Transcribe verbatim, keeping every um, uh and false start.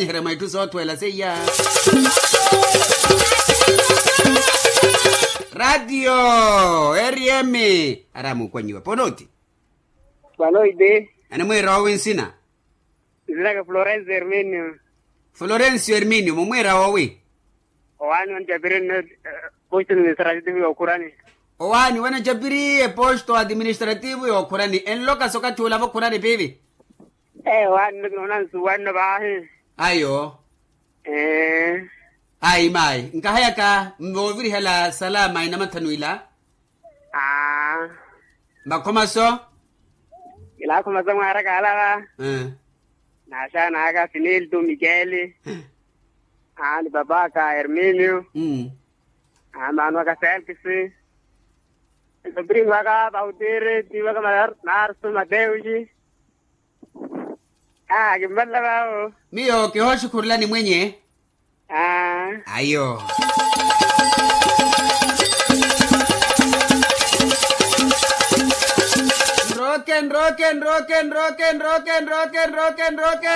Iheremwa itthu soothweela seiya. Ratio rm. Ari amukwanyiwa ponooti. Panoiti. Enimwiira owi nsina? Nsinaka florencio herminio. Florencio herminio mumwiira owi? Owaani wanjapiri nne. Posto administrativo yookhurani. Owaani wanajapiri eposto administrativo yookhurani enloka sokathi olava okhurani piivi? Ee owaani nno kinoona nsuwanno vaahi. Ayo. Ee. Ayi maayi nkahayaka. Moovirihela salama inamathanu ila. Aa. Vakhomaso. Kilaakhomaso mwaaraka alava. Ee. Naaxaana aka finilto mikeli. Aa ni papaka herminio. Aa maano aka felkisi. Ntopirino aka pautiri tiiwaka. Marsu mateuxi. Aa kimvalela vaavo. Miyo kihooxukhurulani mwenye. Aa. Ayo. Nrooke nrooke nrooke nrooke nrooke nrooke nrooke nrooke.